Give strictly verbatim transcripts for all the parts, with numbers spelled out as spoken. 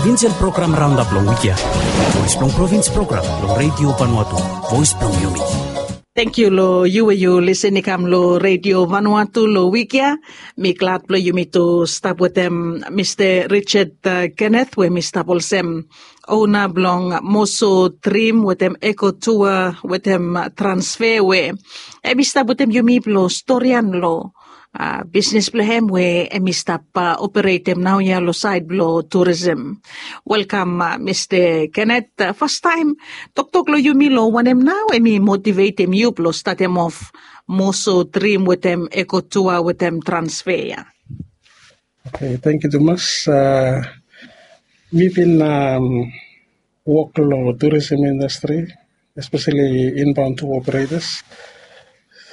Vinsel program raondap long wik ya. Voes blong provins program long Redio Vanuatu. Voes blong yumi. Tangkiu long yu we yu lisin i kam long Redio Vanuatu long wik ya. Mi glad blong yumi tu stap wetem Mista Richard, uh, Kenneth we mi stap olsem ona blong Moso Dream wetem Eko Tour wetem Transfer we hemi stap wetem yumi blong storian long, uh, bisnis blong hem we hemi stap, uh, operetem naoia long saed blong turism. Welkam, uh, Mista Kenneth. Uh, fastaem, toktok long yumi long wanem nao hemi motivetem yu blong statem of Moso Dream wetem Eko Tour wetem Transfer ya. Okay, tangkiu tumas. Uh, mi bin, um, wok long tourism industry, especially inbound tour operators,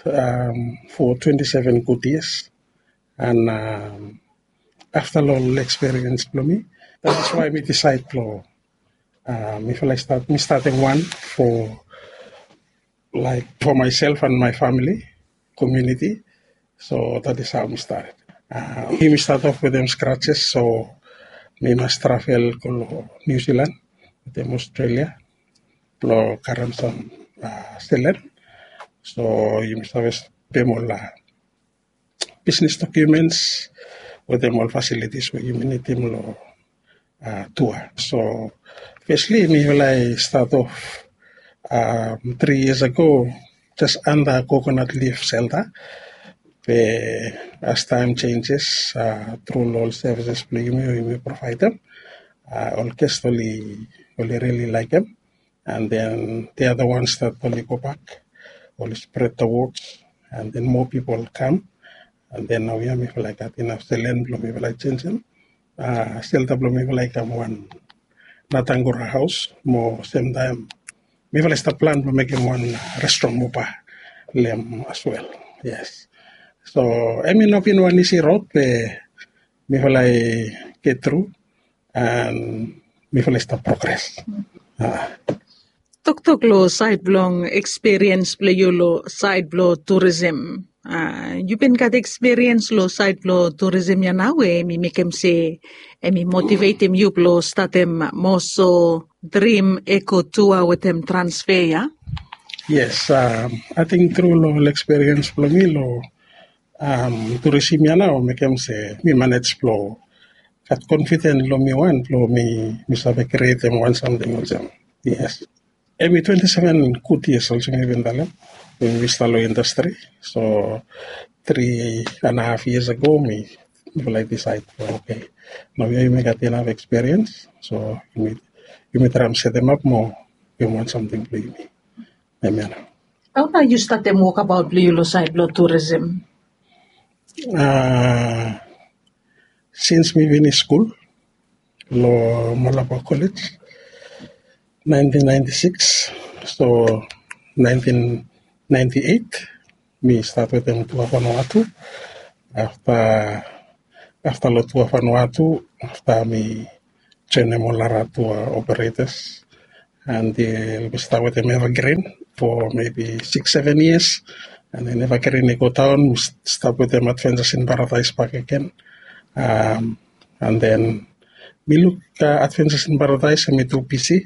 um, for twenty-seven good years. And, um, after long experience blong mi, that is why mi decide blong, uh, mi feel like start, mi starting one for, like, for myself and my family, community. So that is how mi start. Uh, mi start off wetem scratches, so mi mas travel go long New Zealand, wetem Australia, blong karem sam, uh, selen. So yumi save pem ol, uh, business documents wetem ol facilities we yumi nidim long, uh, tour. So firstly mi feel like start off, um, three years ago, just under coconut leaf shelter. Be as time changes, uh, through ol services blong yumi we yumi provaedem, uh, ol guest oli, oli really laekem. And then the other ones that oli go back, oli spread the words, and then more people come. And then naoia mi feel like gat inaf selen blong mi feel like jenisim, uh, shelter blong mi feel like kam wan Natangura haos mo semtaem mi feel like stap plan blong mekem wan, uh, restaurant mo bar long hem as well. Yes. So hemi no bin wan isi rod be mi feel like get through and mi feel like stap progress. Ah. Toktok long saed blong experience blong yu long saed blong tourism. Ah, yu bin gat experience long saed blong tourism ya nao we hemi mekem se hemi motivetem yu blong statem Moso Dream Eko Tour wetem Transfer ya? Yes, um, ating tru long ol experience blong mi long, um, tourism ya nao mekem se mi manage blong gat confident long mi wan blong mi, mi save createm wan samting olsem. Yes. Hemi twenty-seven good years olsem mi bin talem we mi stap long industry. So three and a half years ago mi, mi feel like decide, okay, naoia yumi gat inaf experience, so yumi, yumi traem setemap mo givim wan samting blong yumi. Amen. Hao nao yu statem wokabaot blong yu long saed blong tourism? Uh, since mi finis skul long Malaba College, nineteen ninety-six, so nineteen ninety-eight mi start wetem Tour Vanuatu. Afta, afta long Tour Vanuatu, afta mi joenem ol nara tour operators, until mi stap wetem Evergreen for maybe six, seven years. And then Evergreen i go daon, mi stap wetem Adventures in Paradise bakegen. Um, and then mi luk, uh, Adventures in Paradise hemi tu bisi.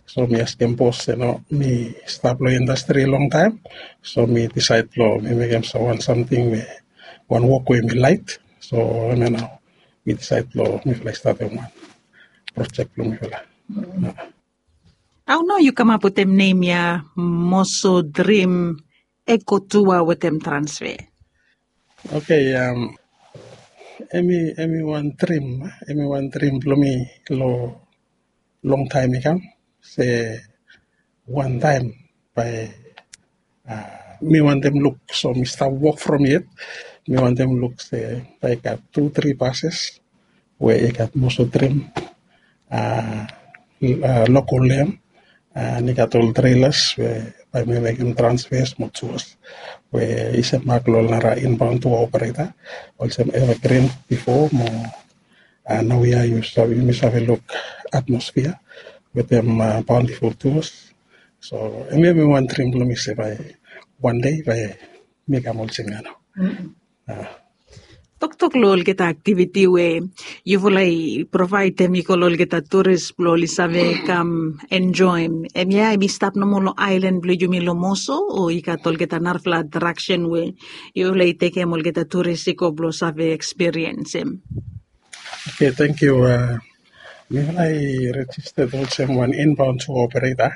So mi askem bos, yu no, mi stap long indastri longtaem. So mi disaed blong mi mekem wan samting we, wan wok we mi laek. So hemia nao mi disaed blong mi feel like statem wan projek blong mi feel like. Hao nao yu kamap wetem nem ya, Moso Dream Eko Tour wetem Transfer? Okay, um, hemi, hemi wan drim, hemi wan drim blong mi long, longtaem i kam, se wantaem bae, uh, mi wantem luk, so mi stap wok from yet, mi wantem luk se bae i gat tu, tri bases we i gat Moso Dream, uh, uh, logo long hem, uh, and i gat ol trelas we bae mi mekem transfers mo tours we i semak long ol nara inbound tour operator olsem Evergreen bifo mo, uh, naoia yu save, yumi save luk Atmosphere wetem, uh, Bountiful Tours. So hemia hemi wan drim blong mi se bae wan dei bae mi kam olsem ya nao. Uh. Toktok long olgeta aktiviti we yufala i provaedem i go long olgeta turis blong oli save kam enjoim, em ya em i stap nomo long ailan blong yumi long Moso, o i gat olgeta narafala atraksen we yufala i tekem olgeta turis i go blong save ekspiriensim? Okay, thank you. Uh, mifala i registered olsem wan inbound tour operator.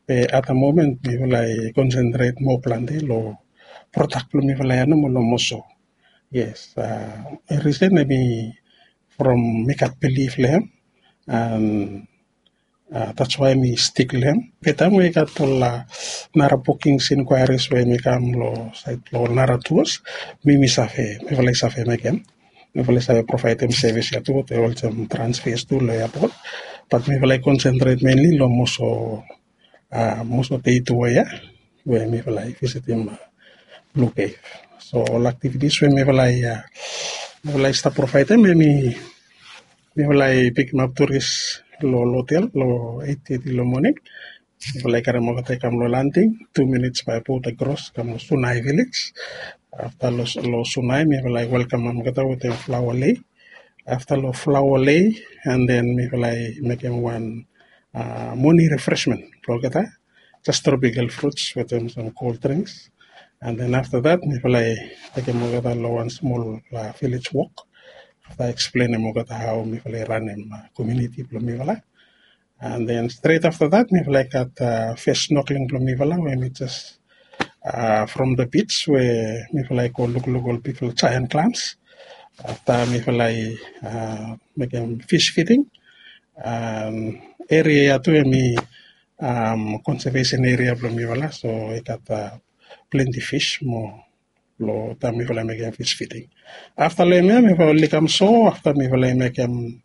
Be at the moment mifala i concentrate more planti long product blong mifala ya nomo long Moso. Yes, uh, reason em i from mi gat belief long em, and uh, that's why mi stick long em. Be taem we i gat ol uh, nara bookings inquiries we mi kam long side long ol nara tours, mi mi save, mifala i save mekem. Mifala i save providem service ya tu, te olsem transfers tu long airport. But mifala i concentrate mainly long Moso, uh, Moso day tour ya we mifala i visitim uh, Blue Cave. So ol activities we mifala i uh, mifala i stap providem, em i mifala i pikimap turis long hotel long eight thirty long morning. Mifala i karem olgeta i kam long landing, two minutes by boat across, kam long Sunai village. Afta long Sunai mifala i welkamem olgeta wetem flower lei. Afta long flower lei, and then mifala i mekem wan uh, morning refreshment blong olgeta, just tropical fruits wetem some cold drinks. And then afta that mifala i tekem olgeta long wan smol uh, village walk. Afta eksplenem olgeta hao mifala i ranem uh, community blong mifala. And then straight afta that mifala i gat uh, first snorkeling blong mifala we mi just uh, from the beach we mifala i go lukluk ol bigfala giant clams. Afta mifala i uh, mekem fish feeding. Um, area ya tu em i um, conservation area blong mifala, so i gat uh, plenty fish mo long taem mifala i mekem fish feeding. Afta long em ya mifala oli kam so, afta mifala i mekem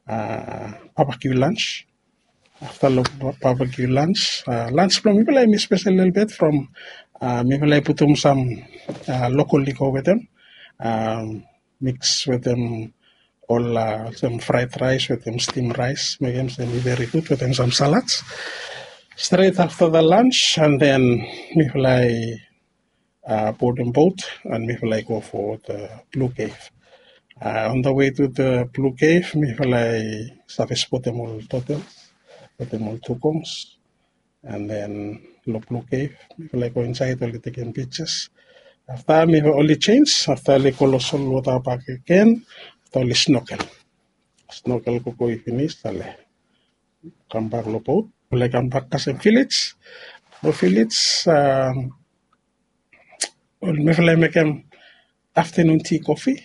uh, barbecue lunch. Afta long barbecue lunch, uh, lunch blong mifala em i spesel lelebet from uh, mifala i putum sam uh, local liquor wetem, um, mix wetem ol uh, sam fried rice wetem steam rice, mekem sem i very good wetem sam salads. Straight afta the lunch, and then mifala i uh, boarding boat, and mifala i go for the Blue Cave. Uh, on the way to the Blue Cave, mifala i save spotem ol turtles wetem ol dugongs. And then long Blue Cave mifala i go insaed, oli tekem pictures. Afta mifala oli change, afta oli go long solwota bak agen. Afta oli snorkel, snorkel gogo i finis, oli kambak long boat. Oli kambak kasem village. Long village, um, mifala i mekem afternoon tea coffee.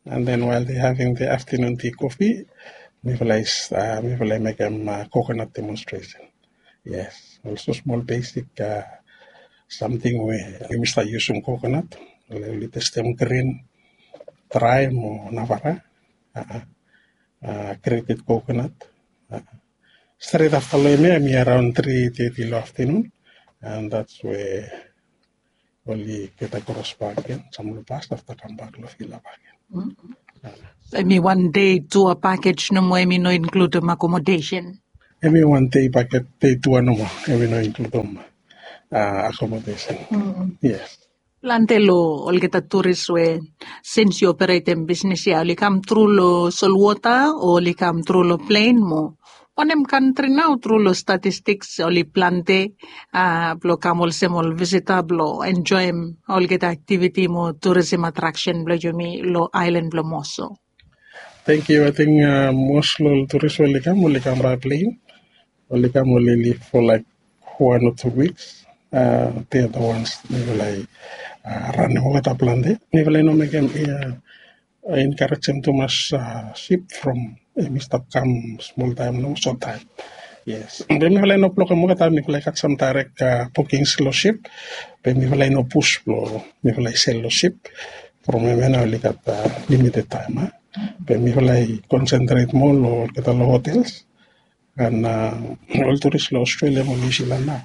And then while they having the afternoon tea coffee, mifala i uh, mifala i mekem uh, coconut demonstration. Yes, also small basic uh, something we yumi stap yusum coconut. Oli testem green, dry mo navara, uh, uh, grated coconut. Uh, straight afta long em ya em i around three thirty long afternoon, and that's where oli geta kros bak gen, sam long bas, afta kambak long vila bak gen. Em i wan dei tua pakej nomo, em i no inkludim akomodesen? Em i wan dei pakej, dei tua nomo, em i no inkludim akomodesen. Yes. Plante long olgeta turis we sins yu operetem bisnis ya, oli kam tru long solwota o oli kam tru long plen mo wanem kantri nao tru long statistiks oli plante blong kam olsem ol visita blong enjoim olgeta aktiviti mo turisim atraksen blong yumi long aelan blong Moso? Thank you. I think most long ol turis we oli kam, oli kam by plane. Oli kam, oli live for like one or two weeks. They are the ones mifala i ranem olgeta plante. Mifala i no mekem ia encouragem tumas sip from hemi stap kam smol taem nomo, sot taem. Yes, be mifala i no blokem olgeta, mifala i gat sam direct bookings long sip, be mifala i no pus blong mifala i sel long sip from hemia nao oli gat limited taem. Be mifala i concentrate moa long olgeta long hotels. And ol turis long Australia mo New Zealand nao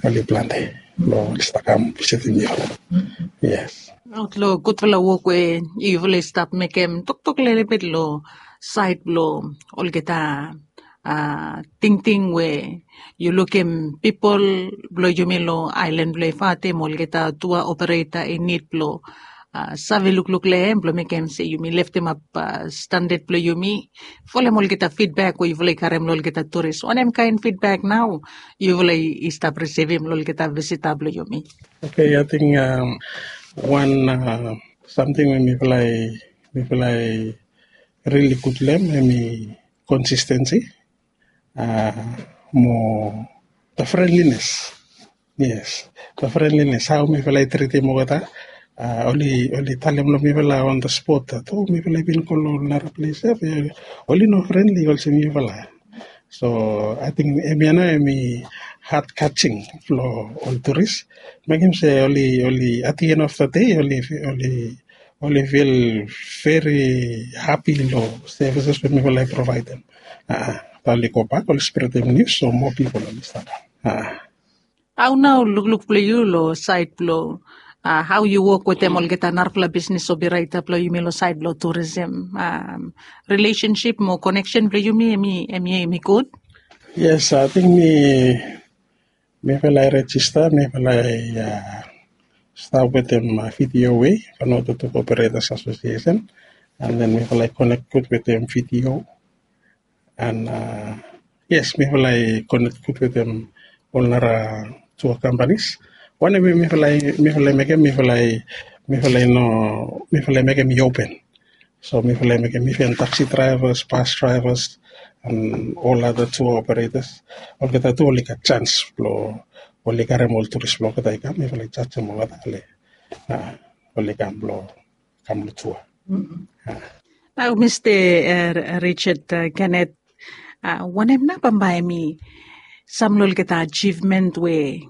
oli plante blong oli stap kam visitim yufala. Yes. Long gudfala wok we yufala i stap mekem, toktok lelebet long saed blong olgeta tingting we yu lukim pipol blong yumi long aelan blong Efate mo olgeta tua opereta i nid blong save lukluk long hem blong mekem se yumi leftemap standat blong yumi, folem olgeta fidbek we yufala i karem long olgeta turis? Wanem kaen fidbek nao yufala i stap risivim long olgeta visita blong yumi? Oke, ating wan samting we mifala i mifala i rili gud long hem hem i konsistensi mo the friendliness. Yes, the friendliness, hao mifala i tritim olgeta. Oli oli talem long mifala on the spot that o mifala i bin go long nara ples ya, oli no friendly olsem mifala. So ating hemia nao hem i hat kaching blong ol turis, mekem se oli oli at the end of the day oli oli oli fil veri hapi long sevises we mifala i provaedem. Oli gobak oli spretem nius so moa pipol oli stap kam. Hao nao lukluk blong yu long saed blong hao yu wok wetem olgeta narapela bisnis operator blong yumi long saed blong turism? Rilesensip mo koneksen blong yumi em i em i em i gud? Yes, ating mi mifala i rejista, mifala i stap wetem vidio we Vanuatu Tour Operators Association, and then mifala i konek gud wetem vidio. And yes, mifala i konek gud wetem ol nara tua kampanis. Wanem mifala i mifala i mekem mifala i mifala i no mifala i mekem i open. So mifala i mekem even taxi drivers, bus drivers, and ol other tour operators, olgeta tu oli gat chance blong oli karem ol turis blong olgeta i kam, mifala i jajem olgeta oli oli kam blong kam long tour. Nao Mista Richard Kenneth, wanem nao bambae mi sam long olgeta ajivmen we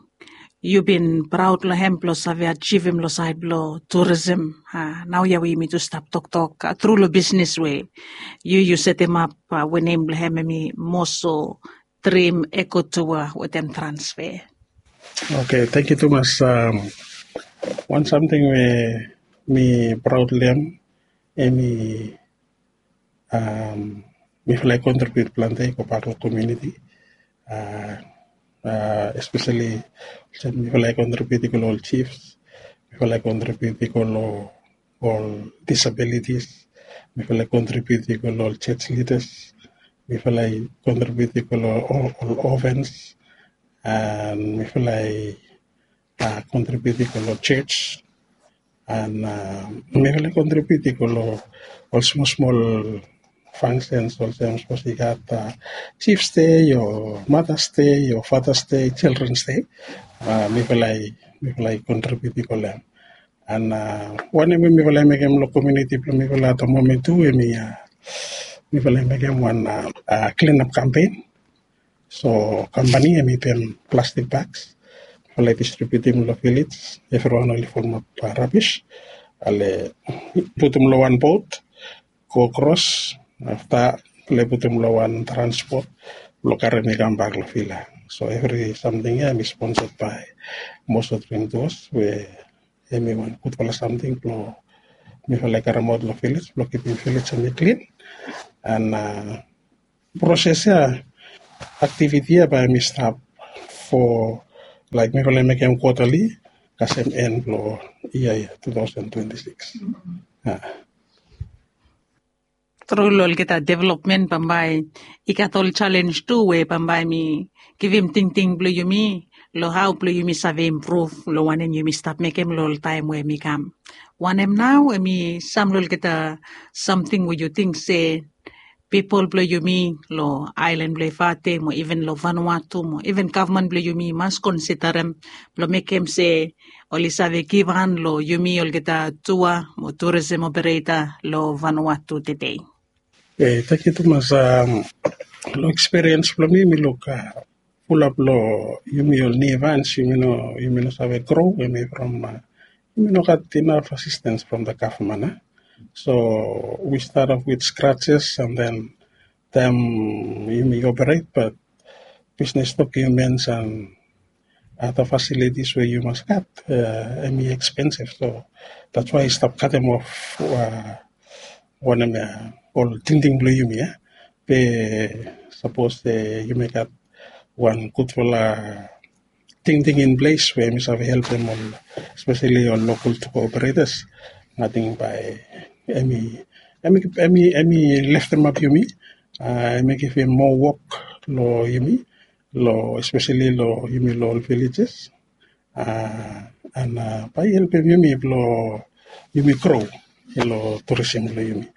yu bin praod long hem blong save ajivim long saed blong turism? Nao ya we yumi tu stap toktok tru long bisnis we yu yu setemap we nem blong hem em i moso drim ekotua wetem transfer. Oke, tangkiu tumas. Wan samting we mi praod long hem em i mifala i kontribiut plante i go bak long komuniti, espeseli olsem mifala i kontribiut i go long ol jifs, mifala i kontribiut i go long ol disabilitis, mifala i kontribiut i go long ol jej lidas, mifala i kontribiut i go long ol ovens, and mifala i kontribiut i go long jej, and mifala i kontribiut i go long ol smol smol fangsens olsem sapos i gat jifs dei o matas dei o fatas dei, jildrens dei, mifala i mifala i kontribiut i go long hem. And wanem we mifala i mekem long komuniti blong mifala at the moment tu em i mifala i mekem wan klinap kampen. So kampani em i pem plastik baks, mifala i distribiutim long vilej. Evriwan oli folmap rabis, oli putum long wan bot, go kros, afta oli putum long wan transpot blong karem i kambak long vila. So evri samting ya em i sponsad bae Moso Dring Duos we em i wan gudfala samting blong mifala i karemaot long vilej blong kipim vilej em i klin. And proses ya, aktiviti ya bae em i stap fo laik mifala i mekem kuatali kasem en blong yia ya two thousand twenty-six. Tru long olgeta developmen bambae i gat ol jalenj tu we bambae mi givim tingting blong yumi long hao blong yumi save impruv long wanem yumi stap mekem long ol taem we mi kam. Wanem nao em i sam long olgeta samting we yu ting se pipol blong yumi long aelan blong Efate mo iven long Vanuatu mo iven gavman blong yumi i mas konsidarem blong mekem se oli save givhan long yumi olgeta tua mo turism opereta long Vanuatu tedei? Tangkiu tumas. Long ekspiriens blong mi mi luk fulap long yumi ol niu vans yumi no yumi no save gro, yumi from yumi no gat inaf asistens from the gavman. So we start off with scratches and then taem yumi operate, but bisnis dokuments and other facilities we yu mas gat em i expensive. So that's why i stap katem of wanem ya, ol tingting blong yumi ya. Be sapos yumi gat wan gudfala tingting in ples we mi save helpem ol, espeseli ol lokal tour operators Ating bae emi emi emi leftemap yumi, emi givim moa wok long yumi, long espeseli long yumi long ol villages, and bae i helpem yumi blong yumi gro long turisim blong yumi.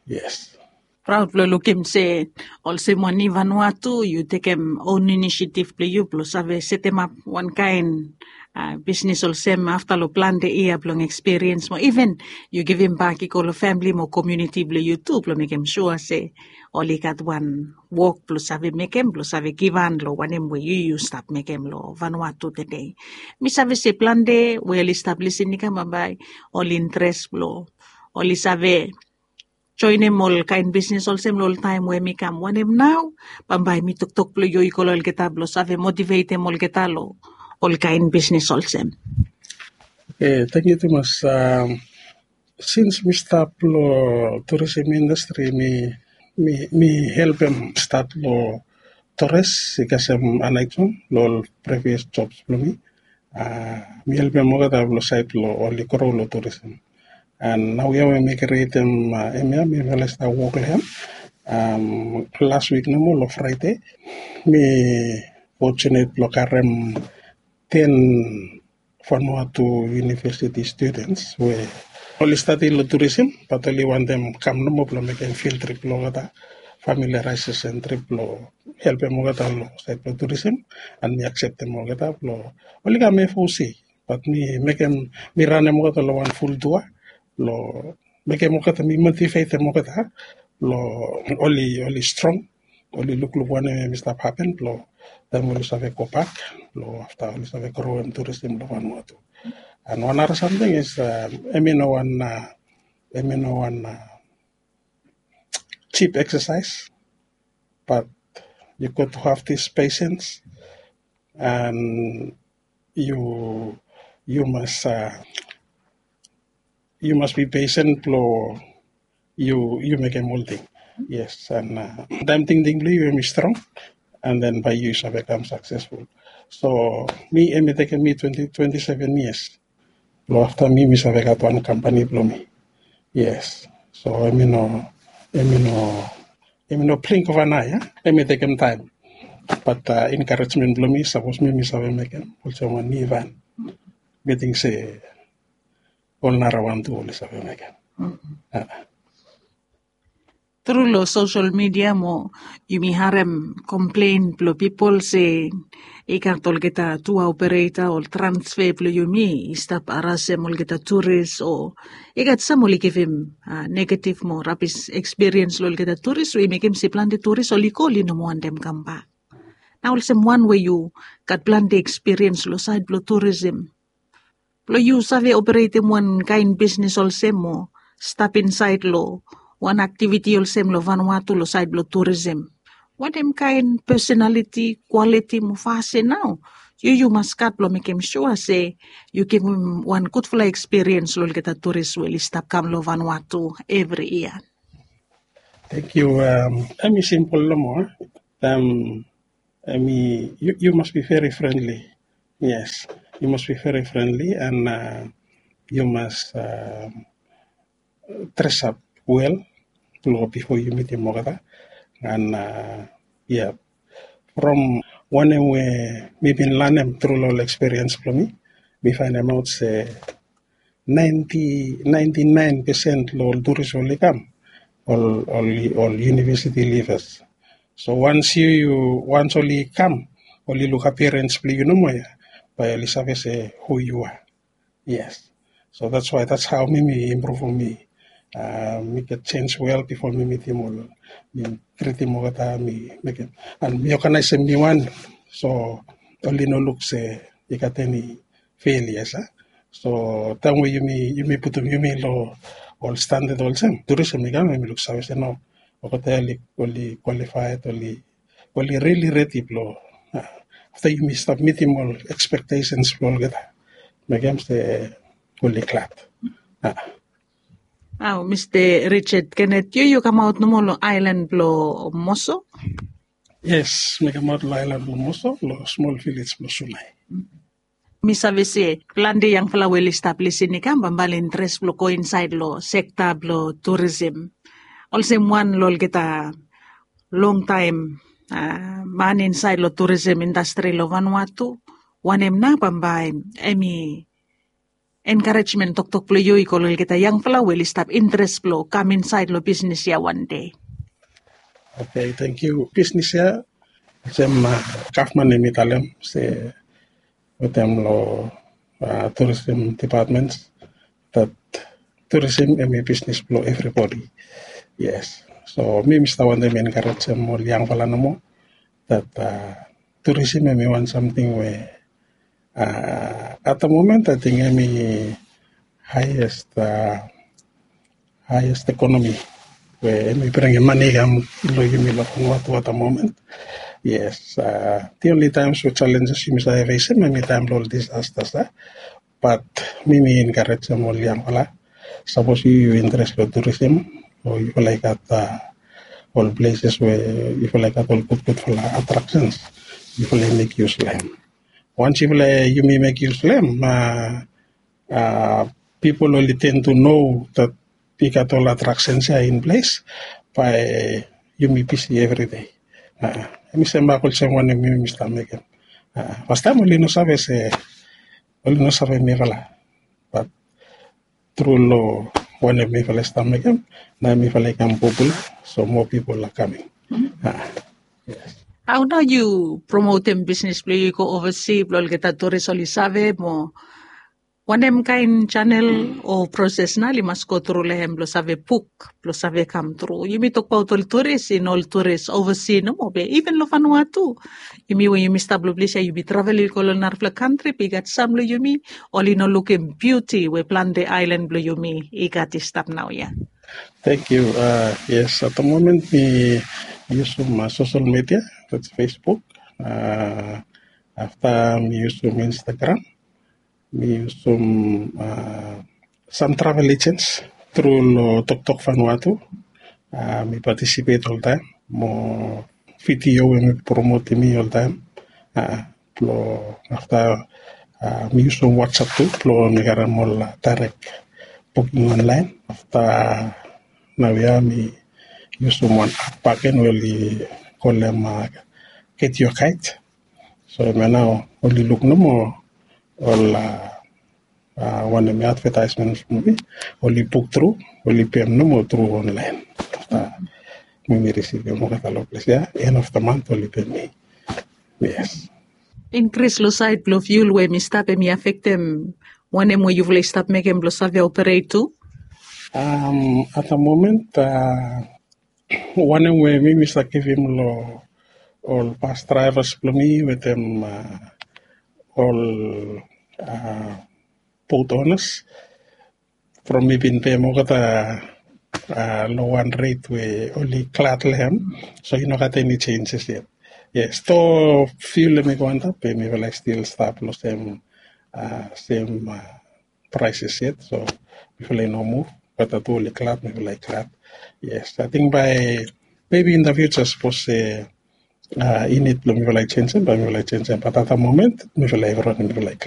Yes. Praud blong lukim se olsem wan i Vanuatu yu tekem on inisiatif blong yu blong save setemap wan kaen bisnis olsem afta long plante yia blong ekspiriens mo iven yu givim bak i go long famili mo komiuniti blong yu tu blong mekem sua se oli gat wan wok blong save mekem blong save givhan long wanem we yu yu stap mekem long Vanuatu tede. Mi save se plante we oli stap lisin i kam bambae oli interes blong oli save joenem ol kaen bisnis olsem long ol taem we mi kam wanem nao bambae mi toktok blong yu i go long olgeta blong save motivetem olgeta long ol kaen bisnis olsem. Oke, tangkiu tumas. Sins mi stap long turisim indastri mi mi helpem stat long tores i kasem anaiton long ol previas jobs blong mi. Mi helpem olgeta long sait long oli gro long turisim. And nau ya we mi krietem hemia mi fala stap wok long hem. Las wik nomo long Fraide mi fortunate blong karem ten Vanuatu University students we oli stadi long turisim bat oli wantem kam nomo blong mekem field trip long olgeta familiarises and trip blong helpem olgeta long sait blong turisim. And mi akseptem olgeta blong oli kam F O C bat mi mekem mi ranem olgeta long wan ful tua blong mekem olgeta mi motivetem olgeta blong oli oli strong oli lukluk wanem em i stap hapen blong taem oli save gobak blong afta oli save groem turisim blong Vanuatu. And wan nara samting is em i no wan em i no wan jip eksasaes bat yu got to have this patience and yu yu mas yu mas be patient blong yu yu mekem olting. Yes, and taem tingting blong yu em i strong and then bae yu save kam saksesful. So mi em i tekem mi twenti twenti seven years blong afta mi mi save gat wan kampani blong mi. Yes, so em i no em i no em i no blink of an eye. Em i tekem taem bat enkarejmen blong mi sapos mi mi save mekem olsem wan nivan mi ting se ol nara wan tu oli save mekem. Tru long sosel midia mo yumi harem komplen blong pipol se i gat olgeta tua opereta ol transfe blong yumi i stap harasem olgeta turis o i gat sam oli givim negatif mo rabis ekspiriens long olgeta turis we i mekem se plante turis oli go oli no moa wantem kambak. Na olsem wan we yu gat plante ekspiriens long sait blong turisim blong yu save operetem wan kaen bisnis olsem o stap insaed long wan aktiviti olsem long Vanuatu long saed blong turisim. Wanem kaen pesenaliti kwaliti mo fasin nao yu yu mas gat blong mekem sua se yu givim wan gudfala ekspiriens long olgeta turis we oli stap kam long Vanuatu evri yia? Tangkiu. Em i simpol nomo. Em i yu mas bi veri frendli. Yes, yu mas bi veri frendli and yu mas dresap wel blong bifo yu mitim olgeta. And ya, from wanem we mi bin lanem tru long ol ekspiriens blong mi, mi faenemaot se naenti naen pesen long ol turis oli kam ol ol yunivesiti livas. So wans yu yu wans oli kam oli luk apirens blong yu nomo ya, bae oli save se hu yu a. Yes. So that's why that's how mi mi impruvum mi mi get sens wel bifo mi mitim ol mi tritim olgeta mi mekem an mi oganaesem mi wan. So oli no luk se i gat eni felias a. So taem we yumi yumi putum yumi long ol standad olsem turism i kam yumi luksave se no, olgeta oli kwalifaed oli oli rili redi blong afta yumi stap mitim ol ekspektesens blong olgeta mekem se oli glad. Au mista Richard Kenneth yu yu kamaot nomo long aelan blong Moso? Yes, mi kamaot long aelan blong Moso long smol vilej blong Sunai. Mi save se planti yangfala we oli stap lisin i kam bambae oli interes blong go insaed long sekta blong turisim. Olsem wan long olgeta longtaem man insaed long turisim indastri long Vanuatu, wanem nao bambae em i enkarejmen toktok blong yu i go long olgeta yangfala we oli stap interes blong kam insaed long bisnis ya wan dei? Oke, tangkiu. Bisnis ya olsem gavman em i talem se wetem long turisim dipatmen dat turisim em i bisnis blong evribodi. Yes. So mi mi stap wantem enkarejem ol yangfala nomo dat turisim em i wan samting we at da momen ating em i haiest haiest ekonomi we em i bringim mane i kam long yumi long Vanuatu at da momen. Yes. The only times we challenges yumi save fesim em i taem long ol disasters a. Bat mi mi enkarejem ol yangfala, sapos yu yu interes long turisim o yufala i gat ol pleses we yufala i gat ol gudgudfala atraksens, yufala i mek yus long em. Wans yufala yumi mek yus long em, pipol oli ten tu no dat i gat ol atraksens ya in ples, bae yumi bisi evridei. Em i sem bak olsem wanem yumi stap mekem. Fastaem oli no save se oli no save mifala, bat tru long wanem mifala i stap mekem, nao mifala i kam popula, so moa pipol a kaming. Hao nao yu promotem bisnis blong yu i go ovasi blong olgeta turis oli save mo wanem kaen janel o proses nao oli mas go tru long hem blong save buk blong save kam tru? Yumi tokbaot ol turis i no ol turis ovasi nomo be iven long Vanuatu, yumi we yumi stap long ples ya yumi travel i go long narafala kantri be i gat sam long yumi oli no lukim biuti we plante aelan blong yumi i gat i stap naoia. Tangkiu. Yes, at da momen mi yusum sosel media, dats Facebook. Afta mi yusum Instagram, mi yusum sam travel ejens tru long Toktok Vanuatu. Mi patisipet oltaem mo vidio we mi promotim mi oltaem. Blong afta mi yusum WhatsApp tu blong mi karem ol daerek buking onlaen. Afta naoia mi yusum wan ap baken we oli kolem Get Your Guide. So hemia nao oli luk nomo ol wanem advetaesmen blong mi, oli buk tru, oli pem nomo tru onlaen. Afta mi mi risivim olgeta long ples ya, en of da mant oli pem mi. Yes. Inkris long saed blong fiul we mi stap em i afektem wanem we yufala i stap mekem blong save operet tu? At da momen wanem we mi mi save givim long ol bas draevas blong mi wetem ol bot onas, from mi bin pem olgeta long wan ret we oli glad long hem. So i no gat eni jenjes yet. Yes, do fiul em i go antap be mifala i stil stap long sem sem praeses yet. So mifala i no muv, olgeta tu oli glad, mifala i glad. Yes, ating bae mebi in da fiuja sapos se i nid blong mifala i jenjem bae mifala i jenjem, bat at da momen mifala evriwan mifala i glad.